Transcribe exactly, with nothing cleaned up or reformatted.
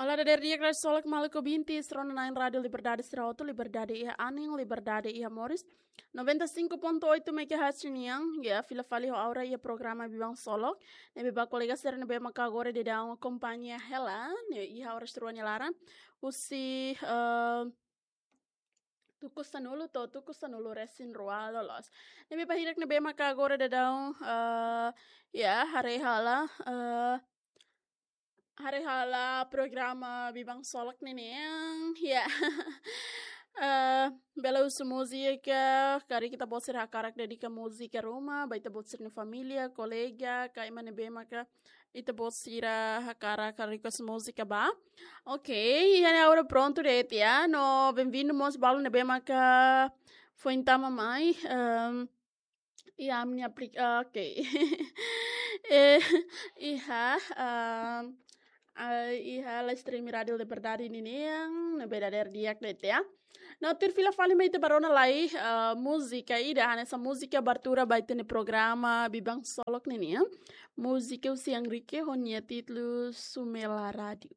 Olá, dadeer di'ak, dadeer solok, maluk ouvinte, sira-nia nain Rádio Liberdade, sira hotu, liberdade iha anin, liberdade iha moris. Noventa e cinco ponto oito megahertz nian, ya, fila fali ho Aura iha programa Biban Solok. Ne'ebé ba kolega sira ne'ebé maka agora daudaun akompaña hela, ne'e iha oras rua nia laran. Husi, eh, tuku sanulu to'o tuku sanulu resin rua loloos. Ne'ebé ba hirak ne'ebé maka agora daudaun, eh, ya, haree hela, eh, haree hela programa Biban Solok ninian, ya. Eh, bele husu múzika, karik ita-boot sira hakarak dedika múzika ruma, ba ita-boot sira-nia família, kolega, ka ema ne'ebé maka ita-boot sira hakarak request múzika ba. Ok, iha ne'e agora prontu de'it ya. No, bem-vindo mós balu ne'ebé maka foin tama mai. Ehm, iha ami-nia aplik-, ah, ok. Eh, iha, ehm, ah, iha live stream Rádio Liberdade ninian, ne'ebé dadeer di'ak de'it ya. No, tuir fila fali mai ita bá rona lai, eh, múzika ida, hanesan múzika abertura ba ita-nia programa Biban Solok ninian. Múzika husi Enrique ho nia títulu Sumela Rádio.